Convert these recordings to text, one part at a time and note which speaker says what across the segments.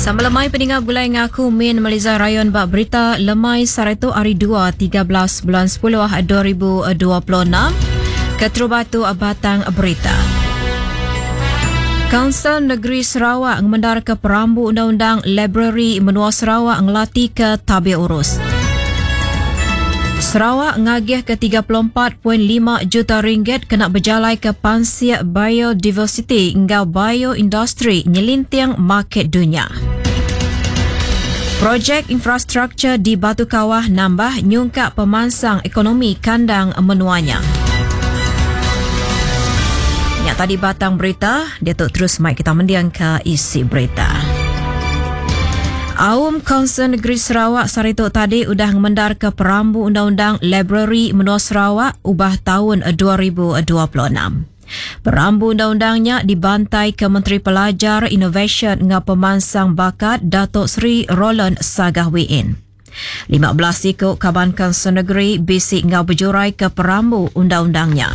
Speaker 1: Sama lemai peninga begulai enggau aku Min Meliza Rayon ba berita lemai sehari tu hari 2 13 bulan 10 2026. Keterubah tu batang berita. Kaunsil Negeri Sarawak ngemendarka perambu undang-undang Library Menua Sarawak ngelatika tabir urus. Sarawak ngagihka 34.5 juta ringgit kena bejalaika pansik biodiversiti enggau bioindustri nyelinting market dunya. Projek infrastruktur di Batu Kawah nambah nyungkak pemansang ekonomi kandang menua nya. Nya tadi batang berita, diatu terus mai kita mendingka isi berita. Aum Kaunsil Negeri Sarawak sehari tu tadi udah ngemendarka perambu undang-undang Library Menua Sarawak ubah taun 2026. Perambu undang-undang nya dibantaika Menteri Pelajar, Inovasyen enggau Pemansang Bakat Datuk Seri Roland Sagah Wee Inn. 15 iku kaban Kaunsil Negeri bisi enggau bejuraika perambu undang-undang nya.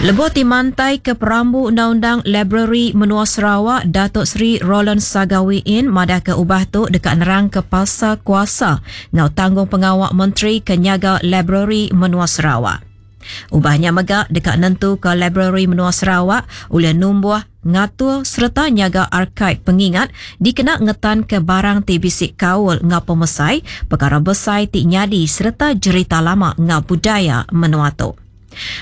Speaker 1: Lebuh ti mantaika perambu undang-undang Library Menua Sarawak, Datuk Seri Roland Sagah Wee Inn madahka ubah tu deka nerangka pasal kuasa enggau tanggungpengawa menteri ke nyaga Library Menua Sarawak. Ubah nya mega deka nentuka Librari Menua Sarawak ulih numbuh, ngatur sereta nyaga arkaib pengingat dikena ngetanka barang ti bisi kaul enggau pemesai, pekara besai ti nyadi sereta jerita lama enggau budaya menua tu.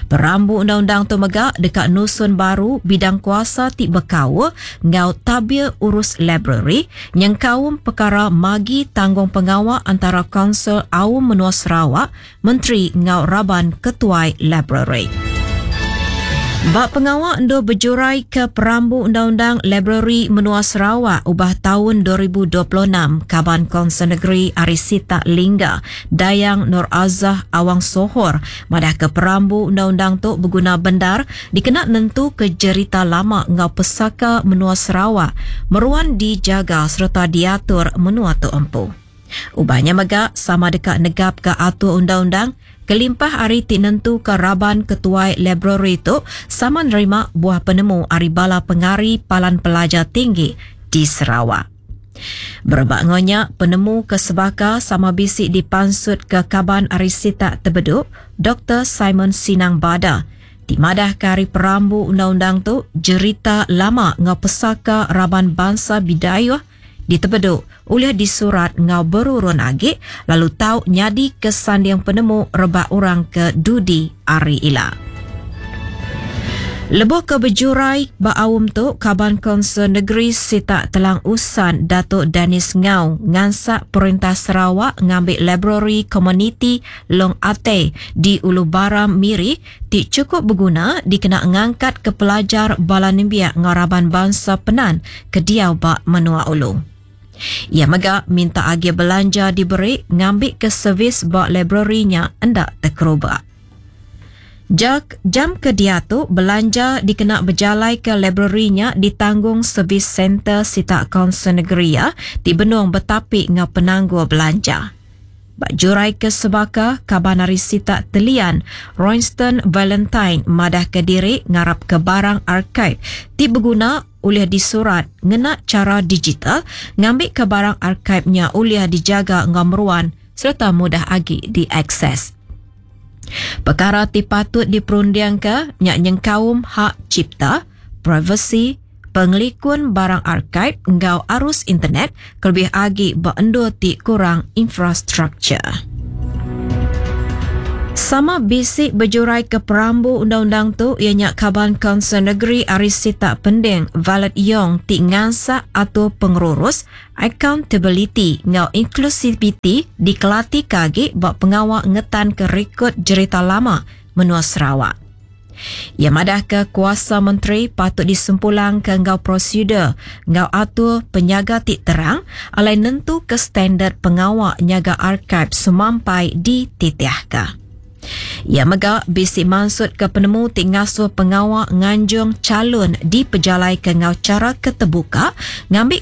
Speaker 1: Perambu undang-undang tu mega deka nusun baru bidang kuasa ti bekaul enggau tabir urus librari nyengkaum pekara magi tanggungpengawa antara Kaunsil Aum Menua Sarawak menteri enggau raban ketuai librari. Ba pengawa endur bejuraika perambu undang-undang Librari Menua Sarawak ubah taun 2026, Kaban Kaunsil Negeri ari sitak Lingga, Dayang Nur Azah Awang Sohor madahka perambu undang-undang tu beguna bendar dikena nentuka jerita lama enggau pesaka menua Sarawak meruan dijaga sereta diatur menua tu empu. Ubah nya mega sama deka negapka atur undang-undang kelimpah ari ti nentuka raban ketuai librari tu sama nerima buah penemu ari bala pengari palan pelajar tinggi di Sarawak. Berebak enggau nya, penemu ke sebaka sama bisi dipansutka kaban ari sitak Tebedu, Doktor Simon Sinang Bada ti madahka ari perambu undang-undang tu jerita lama enggau pesaka raban bansa Bidayuh ditebedu ulih disurat enggau berurun agi lalu tau nyadika sanding penemu rebak orang ke dudi hari ila. Lebuh ke bejurai ba aum tu, Kaban Kaunsil Negeri Sitak Telang Usan Datuk Dennis Ngau ngansak Perintah Sarawak ngambi Librari Komuniti Long Atei di Ulu Baram, Miri ti chukup beguna dikena ngangkatka pelajar bala nembiak enggau raban bansa Penan ke diau ba menua ulu. Iya mega minta agih belanja diberi ngambika servis ba librari nya enda tekeruba. Jak jam ke diatu belanja dikena bejalaika librari nya ditanggung Servis Center sitak Kaunsil Negeri iya ti benung betapi enggau penanggul belanja. Ba jurai ke sebaka, kaban ari sitak Telian, Royston Valentine madahka diri ngarapka barang arkaib ti beguna ulih disurat ngena chara digital ngambika barang arkaib nya ulih dijaga enggau meruan sereta mudah agi diakses. Pekara ti patut diperundingka nya nyengkaum hak cipta, privasi, pengelikun barang arkaib enggau arus internet kelebih agi ba endur ti kurang infrastruktur. Sama bisi bejuraika perambu undang-undang tu iya nya Kaban Kaunsil Negeri ari sitak Pending Violet Yong ti ngansak atur pengerurus, accountability enggau inklusiviti dikelatika agi ba pengawa ngetanka rikod jerita lama menua Sarawak. Iya madahka kuasa menteri patut disempulangka enggau prosedur enggau atur penyaga ti terang alai nentuka standard pengawa nyaga arkaib semampai dititihka. Iya mega bisi mansutka penemu ti ngasuh pengawa nganjung chalun dipejalaika enggau chara ke tebuka ngambika.